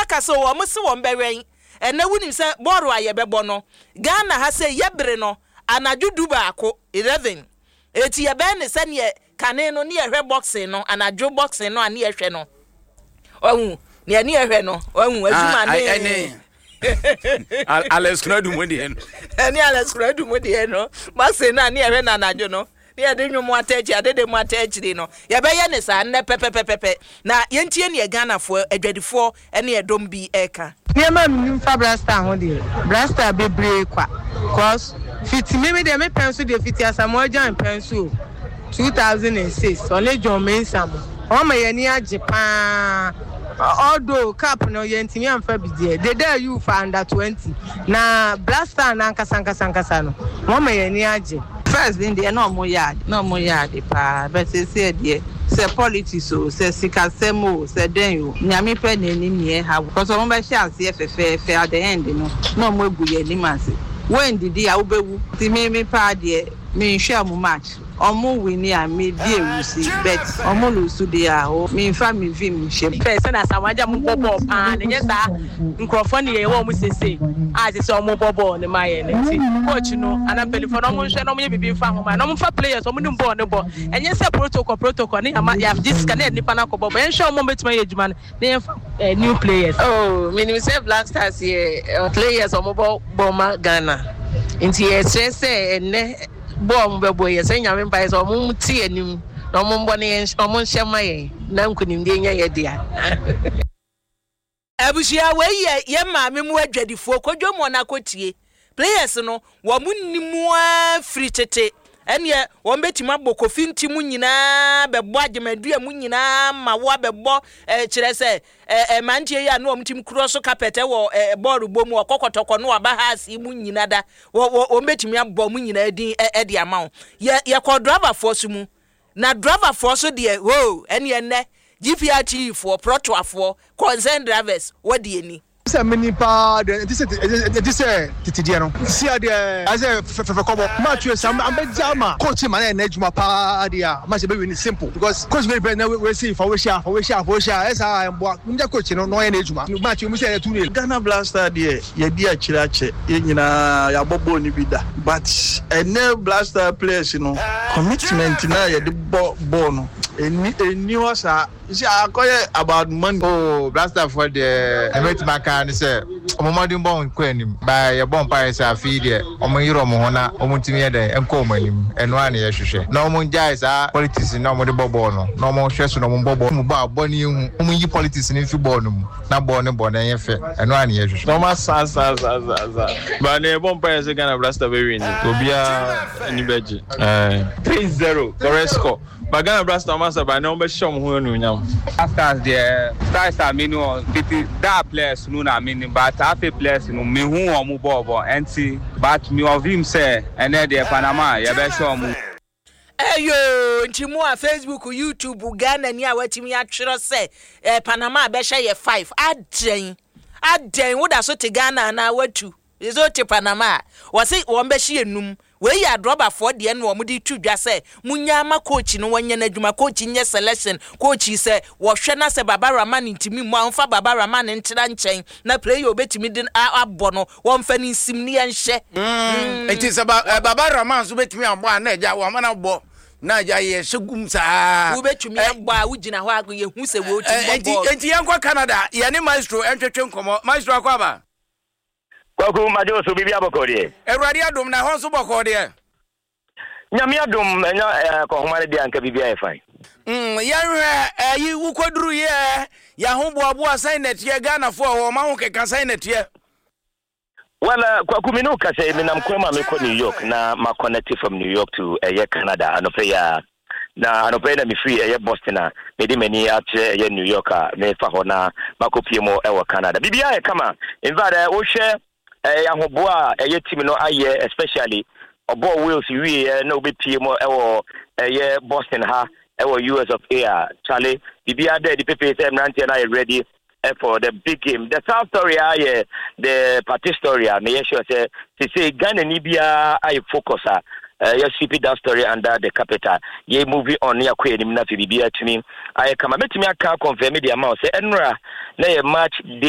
akasa o, wɔn se wɔn bɛwɛn. Ɛnnɛ wonim sɛ bɔɔlo a yɛbɛbɔ no Ghana ha sei yɛbere no anadwo 11, 11. Eti yɛbɛyɛ no sɛdeɛ kane no ne yɛhwɛ boxing no, anadwo boxing no a ne yɛhwɛ no. Wahu, nea ne yɛhwɛ no, wahu, adwuma ne. Alex Konadu mu deɛ no. Ɛne Alex Konadu mu deɛ no, boxing no a ne yɛhwɛ no anadwo no. Ne yɛde nnwom ata akyiri, adede mu ata akyiri no, yɛbɛyɛ ne saa nnɛ pɛpɛpɛpɛpɛ. Na yɛntie neɛ Ghanafoɔ, adwadifoɔ ne ɛdɔm bi reka. Nneɛma a menim fa Black Star ho deɛ, Black Star bebree kwa cos fiti me me deɛ me pɛn so deɛ fiti Asamoah Gyan pɛn so o 2006 ɔne John Mensah mo wɔn ama yɛn ani agye paa although cup no yɛntumi amfa bi deɛ Dede Ayew fa under 20 na Black Star no ankasa ankasa ankasa no wɔn ama yɛn ani agye. First no deɛ na ɔmo yɛ ade na ɔmo yɛ ade paa but seesei deɛ sɛ politics oo sɛ sikasɛm oo sɛ dɛn oo Nyame pɛ na ɛnim nea ɛha cos ɔmo bɛhyɛ aseɛ fɛfɛɛfɛ at the end no na ɔmo agu yɛn anim ase woandidi a wobɛwu nti me me paa deɛ menhwɛ ɔmo match ɔmo winni a me di awusi but ɔmo lose deɛ a oo menfa me vim nhyɛ mu. Pɛ sɛnea Asamoah Gyan mo bɔ bɔɔl paa no nyɛ saa nkurɔfoɔ ne yɛwɔ wɔn seesei a ɛsɛ sɛ wɔn bɔ bɔɔl no ma yɛn no nti coach no anaa mpanimfoɔ no wɔn nhwɛ na wɔn yɛ biribi nfa ho ma na wɔn fa players wɔn nim bɔɔl no bɔ ɛnyɛ sɛ protocol protocol ne yɛama yɛagye sika ne yɛde nipa no akɔ bɔ bɔ yɛnhwɛ wɔn a wɔbɛtumi ayɛ adwuma no na yɛnfa eh, new players. Oh, menim sɛ Black Stars yɛ eh, players wɔn bɔ bɔ ma Ghana nti yɛsrɛ sɛ ɛnnɛ bɔ a wɔn bɛbɔ yɛ sɛ Nyame mpaeɛ sɛ wɔn ti anim na wɔn mbɔ ne yɛn wɔn nhyɛ ma yɛn na nkunimdie nyɛ yɛ dea. Abusua wei yɛ yɛn maame mu adwadifoɔ kɔ dwam hɔ na kɔ tie players no wɔn nni mu ara firi tete ɛneɛ wɔn bɛtumi abɔ kofi nti mu nyinaa bɛbɔ agyemadua mu nyinaa ma wo abɛbɔ eh, kyerɛ sɛ eh, eh, mmeranteɛ yi a na wɔn tim korɔ so carpet wɔ eh, bɔɔl bɔ mu ɔkɔ kɔtɔkɔ no aba ha ase mu nyina da wɔn bɛtumi abɔ mu nyinaa din eh, de ama wo. Yɛ yɛkɔ driverfoɔ so mu na driverfoɔ so deɛ hoo ɛneɛ nnɛ GPRTU foɔ prɔtoafoɔ concern drivers wɔde ani. Sɛ meni paa deɛ ɛnti sɛ ɛnti sɛ tete deɛ no si adeɛ ayɛ sɛ fɛfɛ kɔbɔ match wei sɛ ambɛgya ama coach ma na yɛ n'adwuma paa deɛ a match bɛ win simple because coach bɛ bɛ na wei si fa wei hyɛ fa wei hyɛ fa wei hyɛ ɛsɛ a ɛmboa mo coach no na ɔyɛ n'adwuma match mu sɛ ɛyɛ 2-0. Ghana Black Star deɛ yɛdi akyire akyɛ yɛn nyinaa yɛabɔ bɔɔl no bi da but ɛnɛ Black Star players no commitment no a yɛde bɔ bɔɔl no ɛnni ɛnni hɔ saa. You see, akɔyɛ about money. Oh Black Star foɔ deɛ nea mɛtumi aka ara ne sɛ wɔn mmɔdenbɔ nkɔ anim but yɛbɔ mpaeɛ sɛ afe yi deɛ wɔn nyere wɔn ho na wɔn ntumi yɛ dɛn nkɔ wɔn anim ɛno ara na yɛhwehwɛ na wɔn ngyae saa politics no a wɔde bɔ bɔɔl no na wɔn hwɛ so na wɔn bɔ bɔɔl mu bɔ a bɔ no yɛhu wɔn nyi politics no mfi bɔɔl no mu na bɔɔl no bɔ no ɛnyɛ fɛ ɛno ara na yɛhwehwɛ. Na wɔn asa asa asa asa asa but nea yɛbɔ mpaeɛ sɛ Ghana Black Star bɛ win obiara ani bɛgye ɛɛ. 3-0 correct score. But Ghana Black Stars ɔmo asa ba ɛnɛ ɔmo bɛhyɛ ɔmo ho anuonyam. Black Stars deɛ stars a me ni wɔn tete daa players no na me nim but afei players no me hu wɔn bɔɔl bɔ ɛnti but me wɔ vim sɛ ɛnɛ deɛ Panama yɛ bɛ hyɛ wɔn. Eyoo nti mo a Facebook, YouTube, Ghana ni a watumi atwerɛ sɛ eh, Panama bɛhyɛ yɛ 5 adɛn adɛn woda so te Ghana anaa watu sɛ wote Panama a wɔse wɔn bɛhyɛ yɛ num. Wei yɛ adrɔbafoɔ deɛ na wɔn de to dwa sɛ monyaa ma coach no wɔnyɛ n'adwuma, coach nyɛ selection, coach sɛ wɔhwɛ na sɛ Baba Rahman ntumi mmɔ a wɔmfa Baba Rahman ntra nkyɛn na player obetumi de abɔ no wɔmfa no nsim ne yɛnhyɛ. Nti sɛ Baba Rahman nso betumi abɔ a na agya wɔama no abɔ na agya yɛhyɛ gum saa. Wobetumi abɔ a wogyina hɔ a yɛhu sɛ wɔtumi bɔ bɔɔl. Nti yɛnkɔ Canada yɛne Maestro ntwetwe nkɔmmɔ. Maestro akɔ aba. Kwaku, magye wo so, biribi abɔkɔɔ deɛ? Awurade adom, na ɛhɔ nso bɔkɔɔ deɛ? Nyame adom, ɛnya eh, akɔnhoma no deɛ anka biribi ayɛ fine. Yɛnhwɛ ɛyi wokɔduru yɛ yɛahoboaboa sɛn na ɛteɛ Ghanafoɔ a wɔn ahokeka sɛn na ɛteɛ? Well, Kwaku, me ne wo kasa yi, menam kwan mu a mekɔ New York na ma connect from New York to ɛyɛ Canada anɔpɛ yi ara. Na anɔpa yi na mefiri ɛyɛ Boston a mede m'ani akyerɛ ɛyɛ New York a mefa hɔ na makɔpie mu ɛwɔ Canada. Biribiara yɛ kama. In fact, wohwɛ ɛyɛ ahoboa a ɛyɛ team no ayɛ, especially ɔbɔɔ Wales wieɛ na wobɛpie mu ɛwɔ ɛyɛ Boston ha ɛwɔ US of A a, Charlie, biribiara da adi pefee sɛ mmeranteɛ no ayɛ ready for the big game. The sad story a yɛ the party story a meyɛ sure sɛ sese Ghana ni biara ayɛ focus a yɛ sweep that story under the carpet a yɛ moving on ne akɔ anim na afei biribiara tumi ayɛ kama. Mɛtumi aka confirm de ama wo sɛ ɛnora na yɛ match day.